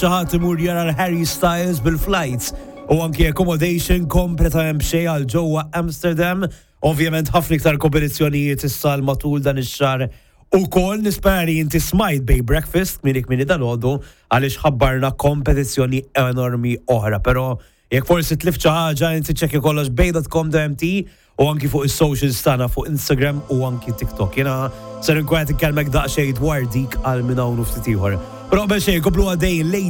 Xi ħadd imur jara l-Harry Styles bil-flights u anki accommodation kompletament b'xejn għal ġewwa Amsterdam. Ovvjament ħafna iktar kompetizzjonijiet issa matul dan ix-xahar ukoll. Nispera li inti smajt Bay Breakfast kmieni kmieni dalgħodu għaliex ħabbarna kompetizzjoni enormi oħra. Però jekk forsi tlift xi ħaġa, inti ċekki kollox bay.com.mt u anki fuq is-socials tagħna fuq Instagram u anki TikTok. Jiena ser nkun qed inkellmek daqsxejn dwar dik għal minn hawn u ftit ieħor. Però qabel xejn komplu għaddej Lady.